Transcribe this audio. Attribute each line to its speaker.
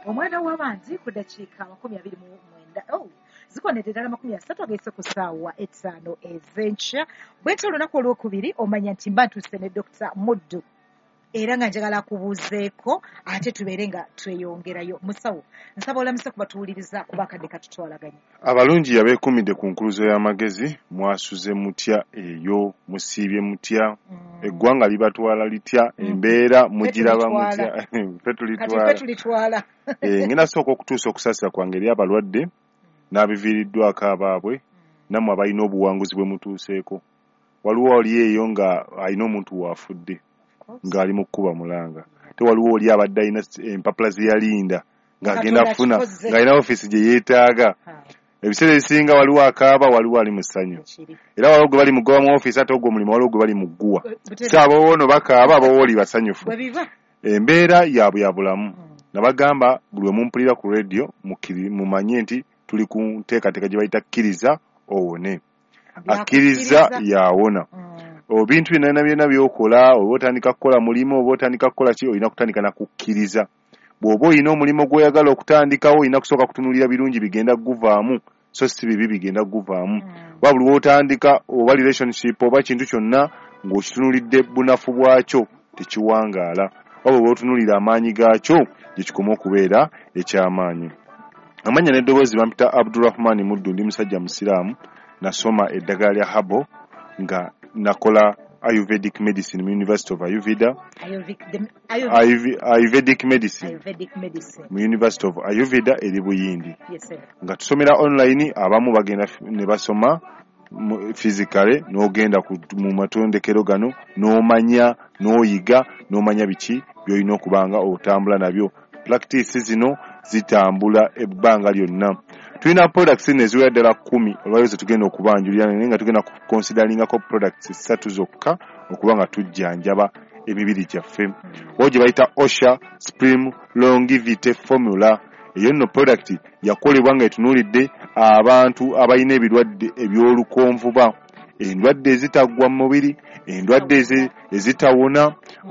Speaker 1: Omwana w'abandi ku dakiika 29, oh, zikonedde ddala 30 agayise ku ssaawa 5 ez'enkya. Bwenti olunaku olwokubiri omanya nti mba ntuuse ne Dr. Muddu, era nga njagala akubuuzeeko ate tubeere nga tweyongerayo. Musawo, nsaba olamuse kubatuwuliriza kuba akadde katutwalaganye.
Speaker 2: Abalungi yabeekumidde ku nkuluzo y'amagezi. Mwasuze mutya eyo? Musiibye mutya? Eggwanga libatwala litya? Embeera mugiraba mutya?
Speaker 1: Ffe tulitwala.
Speaker 2: Ngenda sooka okutuusa okusaasira kwange eri abalwadde n'abiviiriddwako abaabwe, nammwe abalina obuwanguzi bwe mutuuseeko. Waliwo oli eyo nga alina omuntu waafudde ng'ali mu kkuba mulanga, te waliwo oli abadde alina empapula ze yalinda ng'agenda kufuna, ng'alina ofiisi gye yeetaaga. Ebiseera ebisinga waliwo akaaba, waliwo ali mu ssanyu, era waliwo gwe bali mugoba mu ofiisi, ate ogwo omulimu waliwo gwe bali mu gguwa. So abawoono bakaaba, abawooli basanyufu. Embeera yaabwe ya bulamu. Nabagamba buli we mumpulira ku radio mumanye nti tuli ku nteekateeka gye bayita kkiriza owone. Akkiriza yawona. Ebintu byonna byonna by'okola, oba otandika kukola mulimu, oba otandika kukola ki, olina kutandika na kukkiriza. Bw'oba olina omulimu gw'oyagala okutandikawo, olina kusooka kutunuulira birungi bigenda kuguvaamu, so si bibi bigenda kuguvaamu. Oba buli lw'otandika oba relationship oba kintu kyonna ng'okitunuulidde bunafu bwakyo, tekiwangaala. Oba bw'otunuulira amaanyi gaakyo, gye kikoma okubeera eky'amaanyi. Amannya n'eddoboozi bampita Abdurahman Muddu, ndi musajja musiraamu, nasoma eddagala lya herbal nga nakola Ayurvedic medicine mu University of Ayurveda. Ayurvedic medicine mu University of Ayurveda eri Buyindi. Nga tusomera online, abamu bagenda ne basoma physically, n'ogenda mu matondekero gano n'omanya, n'oyiga, n'omanya biki by'olina okuba nga otambula nabyo. Practice zino zitambula ebbanga lyonna. Tulina products nno eziwera ddala 10 olwaleero ze tugenda okubanjulira, naye nga tugenda kuconsideringako products 3 zokka okuba nga tujjanjaba emibiri gyaffe. Waliwo gye bayita Osha Supreme Longevity Formula. Eyo nno product yakolebwa nga etunuulidde abantu abalina ebirwadde eby'olukonvuba, endwadde ezitaggwa mu mubiri, endwadde ezitawona.